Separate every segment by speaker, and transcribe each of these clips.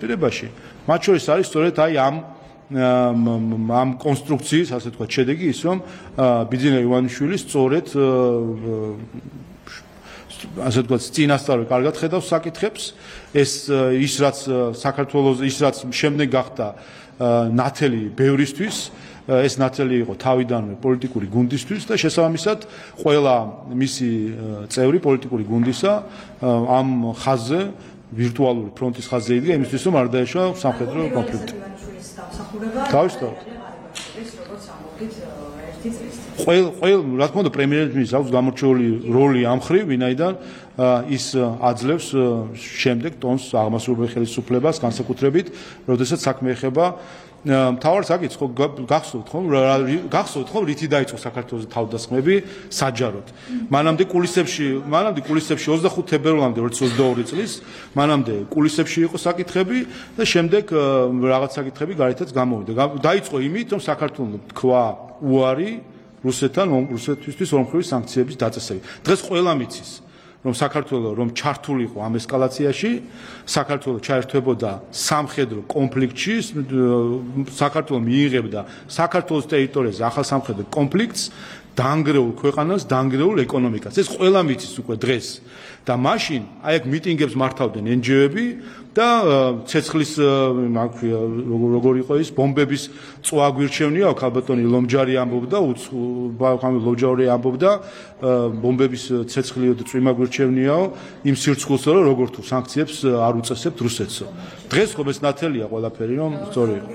Speaker 1: პირებაში. მათ შორის არის სწორედ აი ამ კონსტრუქციის, ასე თქვა, შედეგი ის, რომ ბიძინა ივანიშვილი სწორედ ასე თქვა, წინასწარ კარგად ხედავს საკითხებს, ის რაც საქართველოს, ის რაც შემდეგ გახდა ნათელი ბევრისთვის, ეს ნათელი იყო თავიდანვე პოლიტიკური გუნდისთვის და შესაბამისად ყველა მისი წევრი პოლიტიკური გუნდისა ამ ხაზზე ვირტუალური ფრონტის ხაზზე იდგა იმისთვის, რომ არ დაეშვა სამხედრო კონფლიქტი. თავისთავად. რა თქმა უნდა, პრემიერ-მინისტრს აქვს გამორჩეული როლი ამ მხრივ, ვინაიდან ის აძლევს შემდეგ ტონს აღმასრულებელი ხელისუფლებას, განსაკუთრებით, როდესაც საქმე ეხება მთავარ საკითხს, გახსოვთ ხომ, რითი დაიწყო საქართველოს თავდასხმები საჯაროდ. მანამდე კულისებში 25 თებერვალამდე 2022 წლის, მანამდე კულისებში იყო საკითხები და შემდეგ რაღაც საკითხები გარეთაც გამოვიდა. დაიწყო იმით, რომ საქართველოს თქვა უარი რუსეთისთვის ორმხრივი სანქციების დაწესება. დღეს ყველამ იცის, რომ საქართველოს რომ ჩართულიყო ამ ესკალაციაში, საქართველოს ჩაერთვებოდა სამხედრო კონფლიქტში, საქართველოს მიიღებდა საქართველოს ტერიტორიაზე ახალ სამხედრო კონფლიქტს, დაანგრეულ ქვეყანას, დაანგრეულ ეკონომიკას. ეს ყველამ იცის უკვე დღეს. და მაშინ აი აქ მიტინგებს მართავდნენ NGO-ები და ცეცხლის როგორ იყო ის ბომბების წვა გვირჩევნია, ქალბატონი ლომჯარი ამბობდა, ლომჯარი ამბობდა, ბომბების ცეცხლიო და წვიმა გვირჩევნიაო, იმ სირცხულსო, რომ როგორ თუ სანქციებს არ უწესებთ რუსეთსო. დღეს ხო ეს ნათელია ყველაფერი, რომ სწორი იყო.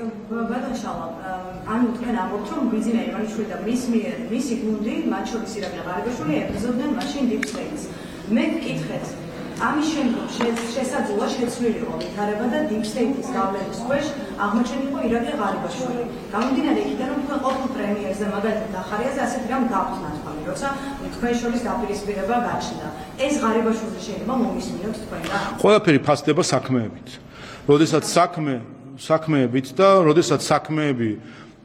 Speaker 2: ანუ თქვენ ამბობთ, რომ ბიძინა ივანიშვილი და მისი გუნდი, მათ შორის ირაკლი ღარიბაშვილი ებრძოდნენ მაშინ Deep State-ს. მე გკითხეთ, ამის შემდგომ შესაძლოა შეცვლილიყო ვითარება და Deep State-ის გავლენის ქვეშ აღმოჩენილიყო ირაკლი ღარიბაშვილი. გამომდინარე იქიდან, რომ თქვენ ყოფილ პრემიერზე მაგალითად დახარიაზე ასეთი რამ გავხსნათ ხოლმე, როცა თქვენ შორის დაპირისპირება გაჩნდა. ეს ღარიბაშვილი შეიძლება მომისმინოთ თქვენგან?
Speaker 1: ყველაფერი ფასდება საქმეებით. როდესაც საქმეებით და როდესაც საქმეები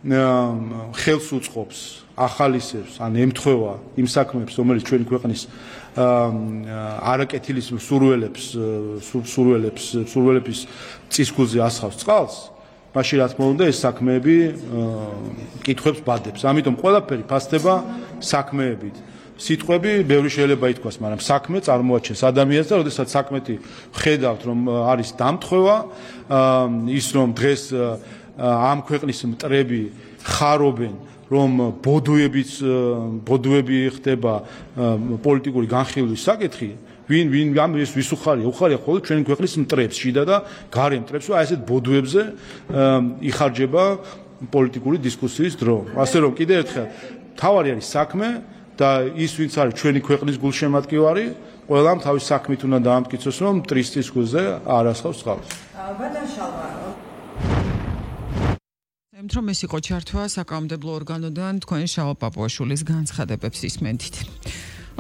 Speaker 1: ხელს უწყობს, ახალისებს, ან ემთხვევა იმ საქმეებს, რომელიც ჩვენი ქვეყნის არაკეთილის სურველების წისქვილზე ასხავს წყალს, მაშინ რა თქმა უნდა ეს საქმეები კითხვებს ბადებს. ამიტომ ყველაფერი ფასდება საქმეებით. სიტყვები ბევრი შეიძლება ითქვას, მაგრამ საქმე წარმოაჩენს ადამიანს და როდესაც საქმეთი ხედავთ, რომ არის დამთხვევა, ის რომ დღეს ამ ქვეყნის მტრები ხარობენ, რომ ბოდუები ხდება პოლიტიკური განხილვის საკითხი, ვინ ამის ვის უხარია ხოლმე ჩვენი ქვეყნის მტრებს, შიდა და გარე მტრებს, აი ესეთ ბოდუებზე იხარჯება პოლიტიკური დისკუსიის დრო. ასე რომ კიდევ ერთხელ თავარი არის საქმე და ის ვინც არის ჩვენი ქვეყნის გულშემატკივარი, ყველამ თავის საქმით უნდა დაამტკიცოს, რომ მტრის დისკუსზე არ ასხავს წყალს.
Speaker 3: რომ ეს იყო ჩართვა საკანონმდებლო ორგანოდან თქვენ შავა პაპუაშვილის განცხადებებს ისმენთ.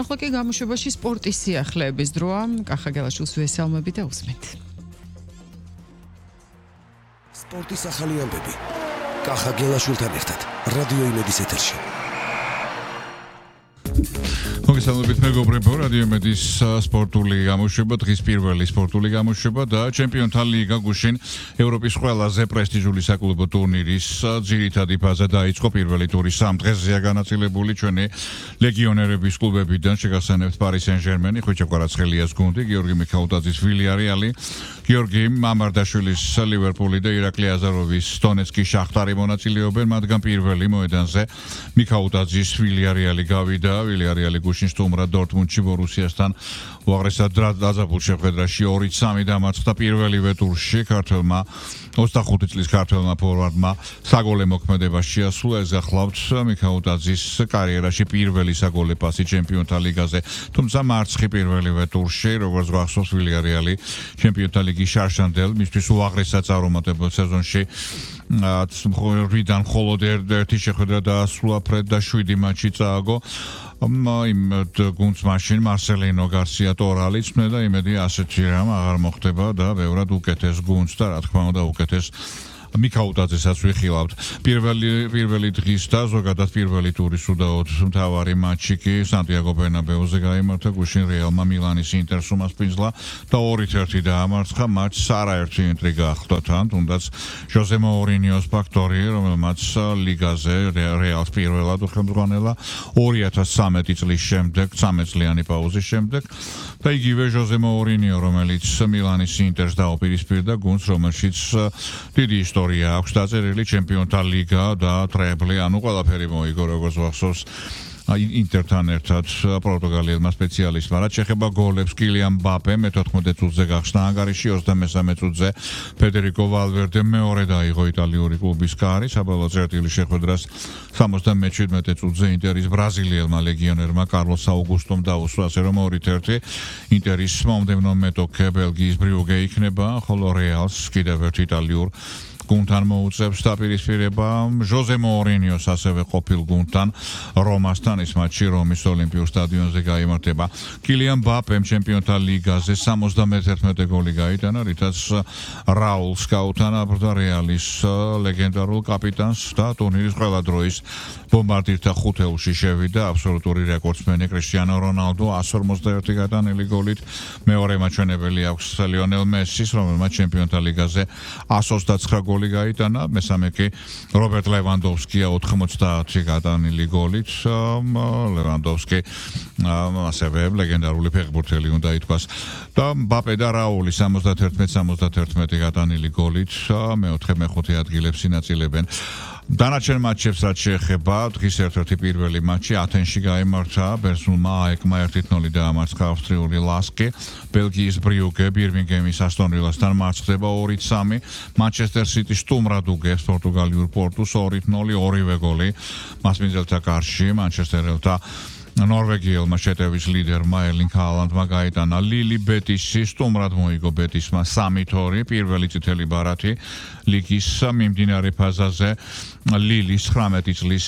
Speaker 3: ახლა კი გამოშვებაში სპორტის სიახლეების დროა. კახა გელაშვილს ვესალმები და უსმენთ.
Speaker 4: სპორტის ახალი ამბები. კახა გელაშვილთან ერთად რადიო იმედის ეთერში.
Speaker 5: მოგესალმებით მეგობრებო, რადიო იმედის სპორტული გამოშვება, დღის პირველი სპორტული გამოშვება და ჩემპიონთა ლიგა გუშინ ევროპის ყველაზე პრესტიჟული საკლუბო ტურნირის ძირითადი ფაზა დაიწყო. პირველი ტური 3 დღეზეა განაწილებული. ჩვენი ლეგიონერების კლუბებიდან შეგახსენებთ Paris Saint-Germain, ხვიჩა კვარაცხელიას გუნდი, გიორგი მიქაუტაძის Villarreal, გიორგი მამარდაშვილის Liverpool და ირაკლი აზაროვის Donetski Shakhtar მონაწილეობენ, მათგან პირველი მოედანზე მიქაუტაძის Villarreal გავიდა. Villarreal გუშინ სტუმრად დორტმუნდში ბორუსიასთან უაღრესად დაძაბულ შეხვედრაში 2-3 დამარცხდა პირველივე ტურში. ქართველმა 25 წლის ქართველმა ფორვარდმა საგოლე მოქმედება შეასრულა. ეს გახლავთ მიქაუტაძის კარიერაში პირველი საგოლე პასი ჩემპიონთა ლიგაზე, თუმცა მარცხი პირველივე ტურში, როგორც გახსოვს, Villarreal ჩემპიონთა ლიგის შარშანდელ, მისთვის უაღრესად წარუმატებელ სეზონში 8-დან მხოლოდ ერთი შეხვედრა დაასრულა ფრედ და 7 მატჩი წააგო. იმ გუნდს მაშინ მარსელინო გარსია ტორალი წმდა და იმედი ასეთი რამ აღარ მოხდება და ბევრად უკეთეს გუნდს და რა თქმა უნდა უკეთეს მიქაუტაძესაც ვიხილავთ. პირველი დღის და ზოგადად პირველი ტურის უდაოდ მთავარი მატჩი კი სანტიაგო ბერნაბეუზე გაიმართა, გუშინ რეალმა მილანის ინტერს უმასპინძლა და 2-1 დაამარცხა მატჩს. არაერთი ინტრიგა ახლდა თან, თუნდაც ჟოზე მოურინიოს ფაქტორი, რომელმაც ლიგაზე რეალს პირველად უხელმძღვანელა 2013 წლის შემდეგ, 13 წლიანი პაუზის შემდეგ და იგივე ჟოზე მოურინიო, რომელიც მილანის ინტერს დაუპირისპირდა გუნდს, რომელშიც დიდი ისტორია აქვს დაწერილი, ჩემპიონთა ლიგა და ტრეიბლი, ანუ ყველაფერი მოიგო, როგორც ვახსოვს ინტერთან ერთად პორტუგალიელმა სპეციალისტმა. რაც შეეხება გოლებს, კილიან მბაპე მე-14 წუთზე გახსნა ანგარიში, 33 წუთზე ფედერიკო ვალვერდე მეორე დაიღო იტალიური კლუბის კარი, საბოლოო წერტილი შეხვედრას 77 წუთზე ინტერის ბრაზილიელმა ლეგიონერმა კარლოს აუგუსტომ დაუსვა, ასე რომ 2-1 ინტერის მომდევნო მეტოქე ბელგიის ბრიუგე იქნება, ხოლო რეალს კიდევ ერთ იტალიურ გუნდთან მოუწევს დაპირისპირება ჟოზე მოურინიოს ასევე ყოფილ გუნდთან რომასთან. ის მატჩი რომის ოლიმპიურ სტადიონზე გაიმართება. კილიან მბაპემ ჩემპიონთა ლიგაზე 71 გოლი გაიტანა, რითაც რაულს გაუთანაბრდა რეალის ლეგენდარულ კაპიტანს და ტურნირის ყველა დროის ბომბარდირთა ხუთეულში შევიდა აბსოლუტური რეკორდსმენი კრისტიანო რონალდო 151 გატანილი გოლით. მეორე მაჩვენებელი აქვს ლიონელ მესის, რომელმაც ჩემპიონთა ლიგაზე 129 გოლი გაიტანა, მესამე კი რობერტ ლევანდოვსკია 90 გატანილი გოლით. ლევანდოვსკი ასევე ლეგენდარული ფეხბურთელი უნდა ითქვას და მბაპე და რაული 71 გატანილი გოლით მეოთხე მეხუთე ადგილებს ინაწილებენ. დანარჩენ მატჩებს რაც შეეხება, დღის ერთ-ერთი პირველი მატჩი ათენში გაიმართა, ბერძნულმა აეკმა 1-0 დაამარცხა ავსტრიული ლასკი, ბელგიის ბრიუგე ბირმინგემის ასტონ ვილასთან მარცხდება 2-3, მანჩესტერ სიტი სტუმრად უგებს პორტუგალიურ პორტუს 2-0, ორივე გოლი მასპინძელთა კარში, მანჩესტერელთა ნორვეგიელმა შეტევის ლიდერმა ერლინგ ჰალანდმა გაიტანა. ლილი ბეტისი სტუმრად მოიგო ბეტისმა 3-2, პირველი წითელი ბარათი ლიგის მიმდინარე ფაზაზე ლილის 19 წლის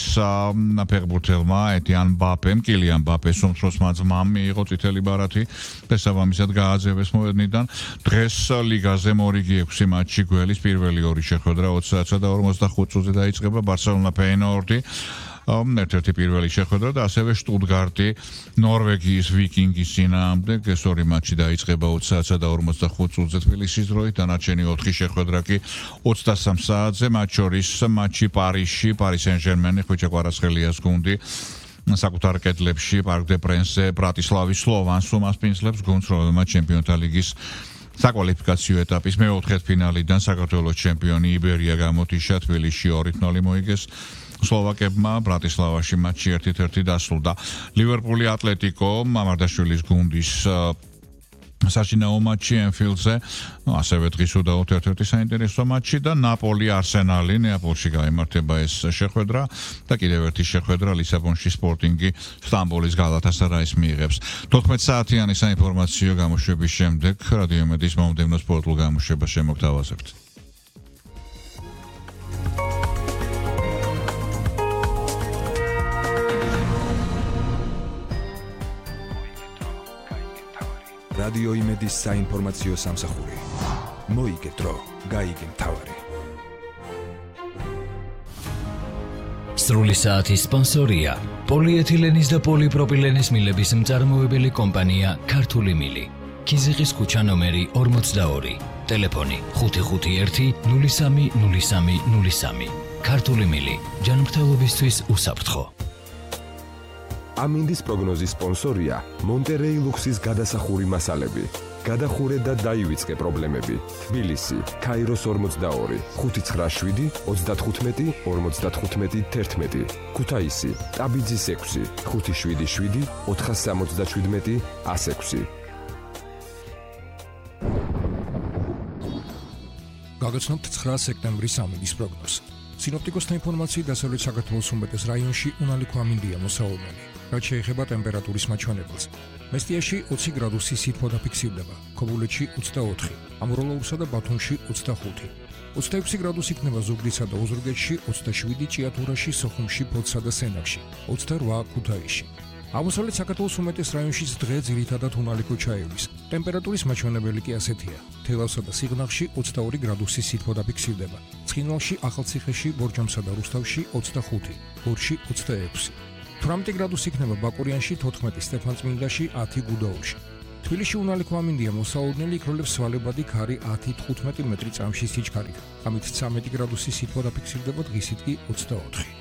Speaker 5: ფეხბურთელმა ეტიან მბაპემ, კილიან მბაპეს უმცროსმა ძმამ მიიღო წითელი ბარათი და შესაბამისად გააძევეს მოედნიდან. დღეს ლიგაზე მორიგი 6 მატჩი გველის პირველი ორი შეხვედრა 20 და 45 წუთზე დაიწყება, ბარსელონა ფეინორდი ერთ-ერთი პირველი შეხვედრა და ასევე შტუტგარტი ნორვეგიის ვიკინგის წინააღმდეგ. ეს ორი მატჩი დაიწყება 20 და 45 წუთზე თბილისის დროით, დანარჩენი 4 შეხვედრა კი 23 საათზე, მათ შორის მატჩი პარიზში, პარი სენ-ჟერმენი, ხვიჩა კვარაცხელიას გუნდი საკუთარ კედლებში პარკ დე პრენსზე ბრატისლავის სლოვანს უმასპინძლებს გუნდს, რომელმაც ჩემპიონთა ლიგის საკვალიფიკაციო ეტაპის მეოთხედფინალიდან საქართველოს ჩემპიონი იბერია გამოტიშა, თბილისში 2-0 მოიგეს სლოვაკებმა, ბრატისლავაში მატჩი 1-1 დასრულდა. ლივერპული ატლეტიკო მამარდაშვილის გუნდის საშინაო მატჩი ენფილდზე, ასევე დღის უდაოდ ერთ-ერთი საინტერესო მატჩი და ნაპოლი არსენალი, ნეაპოლში გაიმართება ეს შეხვედრა და კიდევ ერთი შეხვედრა ლისაბონში სპორტინგი სტამბოლის გალათასარაის მიიღებს. 14 საათიანი საინფორმაციო გამოშვების შემდეგ რადიო მედიის მომდევნო სპორტულ გამოშვებას შემოგთავაზებთ.
Speaker 6: რადიო იმედის საინფორმაციო სამსახური. მოიგე დრო, გაიგე მთავარი.
Speaker 7: სრული საათის სპონსორია პოლიეთილენის და პოლიპროპილენის მილების მწარმოებელი კომპანია ქართული მილი. ქიზიყის ქუჩა ნომერი 42, ტელეფონი 551 03 03 03. ქართული მილი, ჯანმრთელობისთვის უსაფრთხო.
Speaker 6: ამინდის პროგნოზის სპონსორია მონტერეი ლუქსის გადასახური მასალები. გადახურე და დაივიწყე პრობლემები. თბილისი, ქაიროს 42, 597 35 55 11. ქუთაისი, ტაბიძის 6, 577 477 106.
Speaker 8: გაგაცნობთ 9 სექტემბრის ამინდის პროგნოზს. სინოპტიკოსთა ინფორმაციით დასავლეთ საქართველოს უმეტეს რაიონში უნალიქო ამინდია მოსაუბრელი. რაც შეეხება ტემპერატურის მაჩვენებელს. მესტიაში 20 გრადუსი სითბო დაფიქსირდება, ქობულეთში 24, ამროლოურსა და ბათუმში 25. 26 გრადუსი იქნება ზუგდიდსა და ოზურგეთში, 27 ჭიათურაში, სოხუმში, ფოთსა და სენაკში, 28 ქუთაისში. აღმოსავლეთ საქართველოს უმეტეს რაიონშიც დღე ძირითადად უნალიქო ჩაივლის. ტემპერატურის მაჩვენებელი კი ასეთია: თელავსა და სიღნაღში 22 გრადუსი სითბო დაფიქსირდება. ცხინვალში, ახალციხეში, ბორჯომსა და რუსთავში 25, გორში 26. 18 გრადუსი იქნება ბაკურიანში, 14 სტეფანწმინდაში, 10 გუდაუთში. თბილისში უნალიქო ამინდია მოსაოდნელი იქროლებს სვალებადი ქარი 10-15 მეტრი წამში სიჩქარით. ამით 13 გრადუსი სითბო დაფიქსირდება, დღისით კი 24.